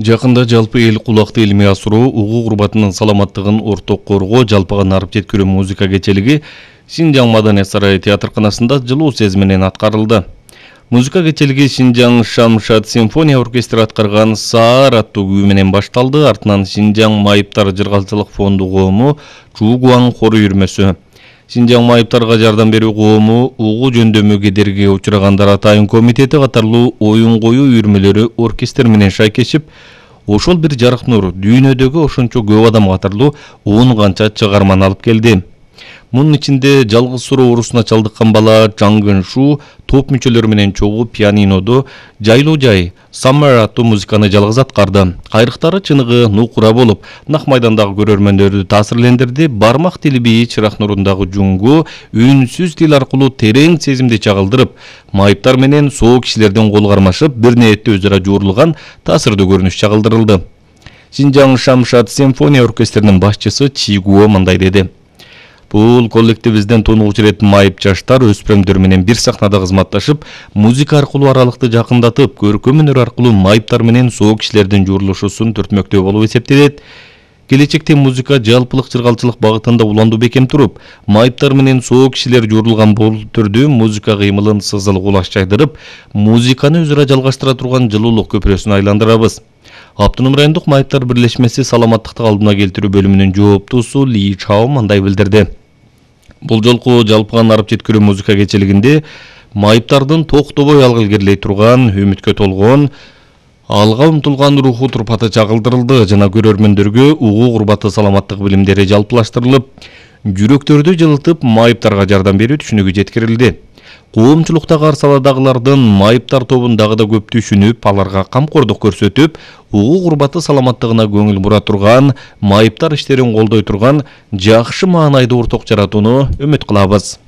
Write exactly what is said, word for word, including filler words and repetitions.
Жакында жалпы эл кулакты илимий асыруу, угуу курбатынын саламаттыгын орток коргоо, жалпыга нарып жеткирүү музыка кечелиги Шинжаң Маданият сарайы театрканасында жылуу сез менен аткарылды. Музыка кечелиги Шинжаң Шамшат симфония оркестрі аткарган Саар аттуу күү менен башталды. Артынан Шинжаң Майыптар жыргалчылык фонду коому Чуугуаң хору үйүрмөсү, Шинжаң Майыптарга жардам берүү коому, угуу жөндөмү кедергиге учурагандар атайын комитети катарлуу оюн коюу үйүрмөлөрү оркестр менен шайкешип, ошол бир жарык нур дүйнөдөгү ошончо көп адам катарлуу он канча чыгарманы алып келди. Мунун ичинде жалгыз суроо урусуна чалдыккан бала Чаңгын Шу топ мүчөлөрү менен чогуу пианинодо жайлуу жай Summer аттуу музыканы жалгыз аткарды. Кайрыктары чыныгы нукура болуп, нак майдандагы көрөрмөндөрдү таасирлендирди. Бармак тили бии чырак нурундагы жуңгу үнсүз тил аркылуу терең сезимди чагылдырып, майыптар менен соо кишилердин кол кармашып, бир ниетте өзара жуурулган таасирдүү көрүнүш чагылдырылды. Шинжаң Шамшат симфония оркестринин башчысы Чигуо мындай деди: Бул коллективибизден тонугуч ирет майып жаштар өспүрөмдөр менен бир сахнада кызматташып, музыка аркылуу аралыкты жакындатып, көркөм өнөр аркылуу майыптар менен соо кишилердин жуурулушусун түртмөктөө болуп эсептелет. Келечекте музыка жалпылык жыргалчылык багытында уландуу бекем туруп, майыптар менен соо кишилер жуурулган бул түрдүү музыка кыймылын сызыл кулаш жайдырып, музыканы өзара жалгаштыра турган жылуулук көпүрөсүн айландырабыз. Автоном райондук майыптар бирлешмеси саламаттыкты калыбына келтирүү бөлүмүнүн жооптуусу Ли Чао мындай билдирди. Бул жолку жалпыга нарып жеткирүү музыка кечелигинде майыптардын токтобой алга илгерилей турган, үмүткө толгон, алга умтулган руху турпаты чагылдырылды жана көрөрмөндөргө угуу курбаты саламаттык билимдери жалпылаштырылып, жүрөктөрдү жылытып, майыптарга жардам берүү түшүнүгү жеткирилди. Коомчулуктагы ар саладагылардын майыптар тобун дагы да көп түшүнүп, аларга камкордук көрсөтүп, угуу курбаты саламаттыгына көңүл бура турган, майыптар иштерин колдой турган жакшы маанайда орток жаратууну үмүт кылабыз.